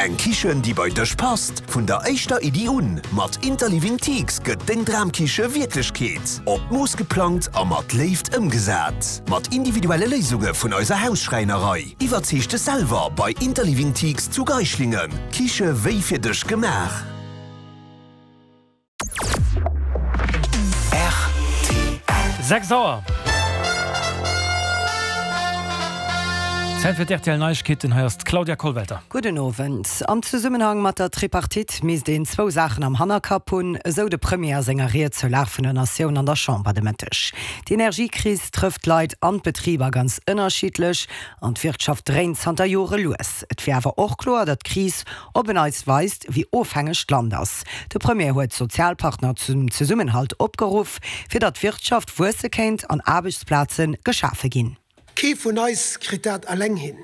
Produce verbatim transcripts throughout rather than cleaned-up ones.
Eng Kichen, déi bei dech passt. Vun der éischter Iddi un. Mat Interliving Teaks gëtt deng Dramkiche Wierklechkeet. Op Mooss geplangt a mat Léift ëmgesat. Mat individuelle Léisunge vun eiser Hausschräinerei. Iwwerzeeg dech selwer bei Interliving Teaks zu Geislingen. Kiche wéi fir dech gemaach. Sechs Auer. Zäit fir d'RTL Neiegkeeten, hei ass d'Claudia Kollwelter. Gudden Owend. Am Zesummenhang mat der Tripartite misst een zwou Saachen am Hannerkapp hunn, esou de Premier a senger Ried zur Lag vun der Natioun an der Chamber de Mëtteg. D'Energiekris trëfft d'Leit an d'Betriber ganz ënnerschiddlech an d'Wirtschaft dréint zanter Jore lues. Et wier awer och kloer, datt d'Kris op en Neits weist, wéi ofhängeg d'Land ass. De Premier huet d'Sozialpartner zum Zesummenhalt opgeruff, fir datt d'Wirtschaft wuesse kéint an Aarbechtsplaze geschafe ginn. Kee vun eis kritt dat eleng hin,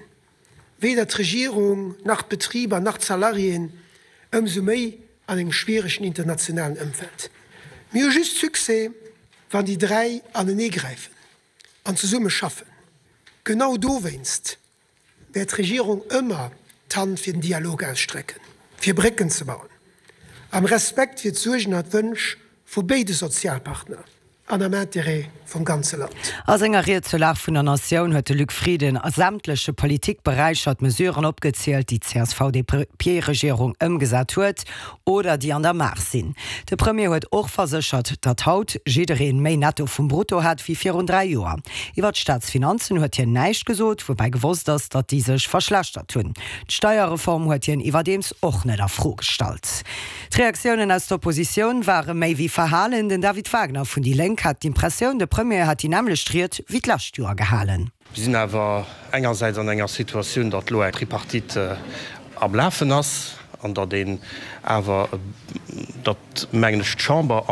weder d'Regierung, nach d'Betriber, nach d'Salariéen, ëmsou méi an engem schwieregen internationalen Ëmfeld. Mir hu just Succès, wann déi dräi aneneegräifen an zesumme schaffen. Genau dowéinst wäert d'Regierung ëmmer d'Hand fir den Dialog ausstrecken, fir Brécken ze bauen, am Respekt fir d'Suergen a d'Wënsch vu béide Sozialpartner an am Interêt vum ganze Land. A senger Ried zur Lag vun der Natioun huet de Luc Frieden a sämtleche Politikberäicher d'Mesuren opgezielt, déi d'CSV-DP-Regierung ëmgesat huet oder déi an der Maach sinn. De Premier huet och verséchert, datt haut jidderee méi Netto vum Brutto hätt wéi virun dräi Joer. Iwwer d'Staatsfinanzen huet hien näischt gesot, woubäi gewosst ass, datt déi sech verschlechtert hunn. D'Steierreform huet hien iwwerdeems och net a Fro gestallt. D'Reaktiounen aus der Oppositioun ware méi wéi verhalen. Den David Wagner vun déi Lénk hat d'Impressioun, de Premier hätt déi nämmlecht Ried wéi d'lescht Joer gehalen. Mir sinn awer engersäits an enger Situatioun, datt elo eng Tripartite am Lafen ass an datt een awer, datt, mengen ech, d'Chamber an